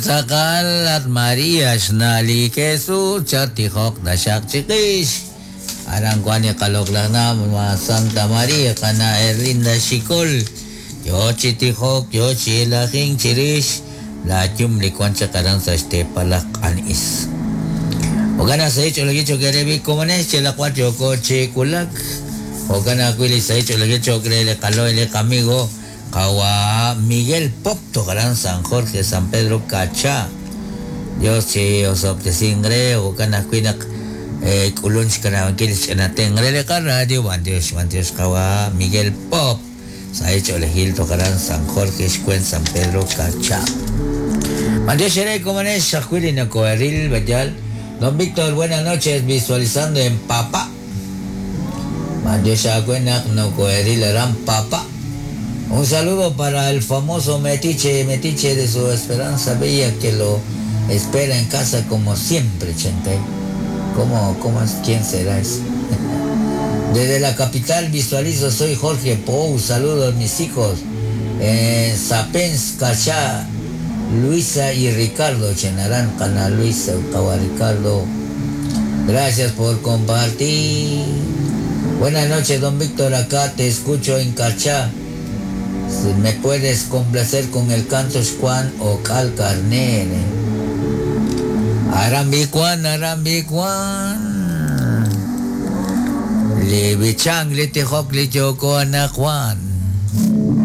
Tz'aqal at María xna' li Jesús chattijoq taxaq chiqix. Aran wank li qaloq'laj na' ma Santa María qana' Erlinda Xicol yo chi tijok yo chi elajink chirix laayum li wank chaq aran sa' xteepal laj Q'an Is. Jo'kan naq sahil ch'oolejil cho'q eere b'i' komonex yalaq b'ar yooko chi wulak. Jo'kan ajwi' li sahil ch'oolejil cho'q re li qalo'y li qamigo Qawa' Miguel Pop toj aran San Jorge, San Pedro Cacha. Dios chi osob'tesinq re, jo'kan ajwi' naq k'ulun xkanab'ankil xch'ina tenq re li qaradio. B'antiox, b'antiox Qawa' Miguel Pop. Sahil ch'oolejil toj aran San Jorge, xweent San Pedro Cacha. B'antiox eere komonex ajwi' li nokoheril, b'ayal. Don Víctor, buenas noches, visualizando en Papa. B'antiox aawe naq nokoheril aran Papa. Un saludo para el famoso metiche, metiche de su Esperanza Bella que lo espera en casa como siempre, Chente. ¿Cómo, cómo es? ¿Quién será ese? Desde la capital visualizo, soy Jorge Pou, saludos mis hijos. En Zapens, Cachá, Luisa y Ricardo, Chenarán, Canal Luisa, Kawa Ricardo. Gracias por compartir. Buenas noches, don Víctor, acá te escucho en Cachá. Si me puedes complacer con el canto Juan o Cal Carnere. Arambi Juan, Arambi Juan. Li bichang, li tijok, li yoko, ana Juan.